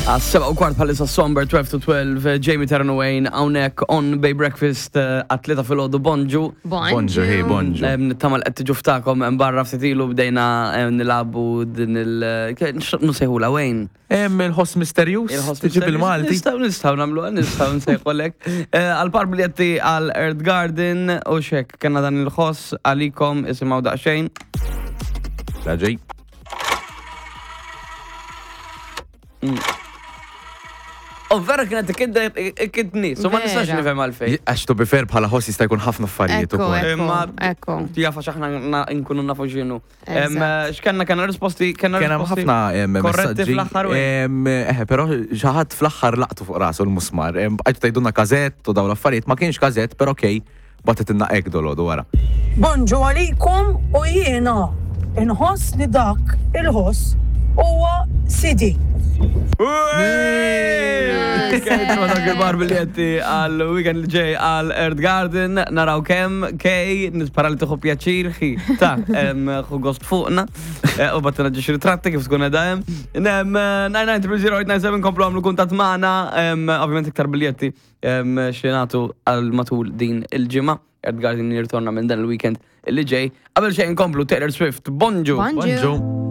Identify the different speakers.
Speaker 1: Għas-7 u kwart bħalissa Somber 12 to 12, eh, Jamie Terran Wayne, hawnhekk on Bay Breakfast eh, għat-tlieta filgħodu bonġu.
Speaker 2: Bonġu, hi, bonġu.
Speaker 1: Eh, Nittama li qed tiġu ftakom hemm barra ftit ilu bdejna nilagħbu din il nusejħula Wayne.
Speaker 2: Hemm il-ħoss misterjuż,
Speaker 1: Il-ħoss
Speaker 2: tiġi bil-Malti.
Speaker 1: Nistgħu nistgħu nagħmlu nistgħu nsejħulek. Għal par biljetti għal Earth Garden u xek kellna dan il-ħoss għalikom isimgħu daqsxejn.
Speaker 2: Raġej.
Speaker 1: U vera kienet ikidni, so ma nistax
Speaker 3: Vera.
Speaker 1: nifhem għalfejn.
Speaker 2: Għax to be fair bħala ħoss jista' jkun ħafna affarijiet
Speaker 3: Ekku,
Speaker 2: ukoll.
Speaker 3: ekku,
Speaker 1: Imma-
Speaker 3: ekku.
Speaker 1: Jafa x'aħna na- nkunu nafu x'inhu. Em,
Speaker 3: Eżatt.
Speaker 1: X'kenna kellna risposti, kellna
Speaker 2: Kien hemm
Speaker 1: risposti
Speaker 2: ħafna em,
Speaker 1: korretti
Speaker 2: messaġġi.
Speaker 1: fl-aħħar u
Speaker 2: Em, Eh, però xi ħadd fl-aħħar laqtu fuq rasu l-musmar. Em, Bqajtu tgħidulna każett u dawn l-affarijiet ma kienx każett, però okej, bagħtet inna hekk dolodu wara.
Speaker 4: Bonġu għalikom u jiena inħoss li dak il-ħoss huwa CD.
Speaker 1: Kejt dak il-bar biljetti għal weekend li ġej għal Earth Garden, naraw kem, kej, nispara li tieħu pjaċir, xi, ta' em, ħu gost fuqna, eh, u battina ġiex ritratti kif tkun edha hemm. Nem, eh, 9930897 komplu għamlu kuntat magħna, em, ovvjament iktar biljetti em, xi nagħtu għal matul din il-ġimgħa. Earth Garden jirtorna minn dan il-weekend li ġej. Qabel xejn komplu Taylor Swift, bonġu.
Speaker 3: Bonġu.
Speaker 2: Bonġu.